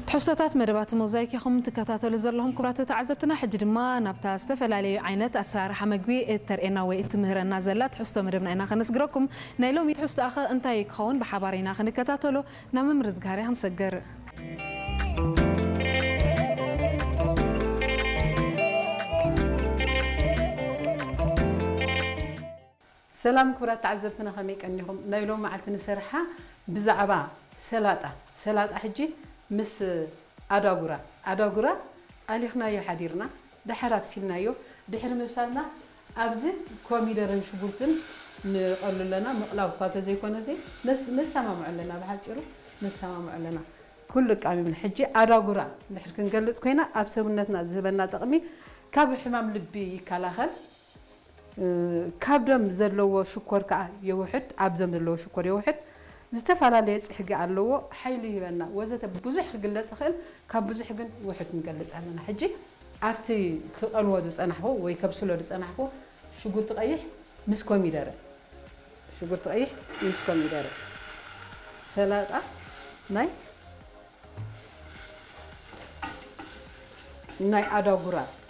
ትሕዝቶታት መደባት ሞዛይክ ኢኹም ትከታተሉ ዘለኹም ክቡራት ተዓዘብትና። ሕጂ ድማ ናብታ ዝተፈላለዩ ዓይነት ኣሰራርሓ መግቢ እተርእየና ወይ እትምህረና ዘላ ትሕዝቶ መደብና ኢና ከነስግረኩም። ናይ ሎሚ ትሕዝቶኣኸ እንታይ ክኸውን ብሓባር ኢና ክንከታተሎ። ናብ ምምርዝጋር ክንሰግር። ሰላም ክቡራት ተዓዘብትና፣ ከመይ ቀኒኹም? ናይ ሎም መዓልቲ ንሰርሓ ብዛዕባ ሰላጣ፣ ሰላጣ ሕጂ ምስ ኣዳጉራ፣ ኣዳጉራ ኣሊኽናዮ ሓዲርና፣ ድሓር ኣብሲልናዮ፣ ድሕሪ ምብሳልና ኣብዚ ኮሚደረን ሽጉርትን ንቐሉ ኣለና። ምቕላው እኳ ተዘይኮነ፣ ነስ-፣ ነሰማምዖ ኣለና፣ ብሓጺሩ ነሰማምዖ ኣለና። ኩሉ ኣቃሚምና። ሕጂ ኣዳጉራ እንድሕር ክንገልጽ ኮይና፣ ኣብ ሰውነትና ዝህበና ጥቕሚ፣ ካብ ሕማም ልቢ ይከላኸል፣ እ፣ ካብ ደም ዘለዎ ሽኮር ከኣ የውሕድ፣ ኣብ ደም ዘለዎ ሽኮር የውሕድ፣ ዝተፈላለየ ጽሕጊ ኣለዎ፣ ሓይሊ ይህበና ወዘተ ብዙሕ ክግለጽ ይኽእል። ካብ ብዙሕ ግን ውሑድ ንገልጽ ኣለና። ሕጂ ኣብቲ ክቐልዎ ዝጸናሕኩ ወይ ከብስሎ ዝጸናሕኩ ሽጉርቲ ቀይሕ ምስ ኮሚደረ፣ ሽጉርቲ ቀይሕ ምስ ኮሚደረ፣ ሰላጣ ናይ፣ ናይ ኣዳጉራ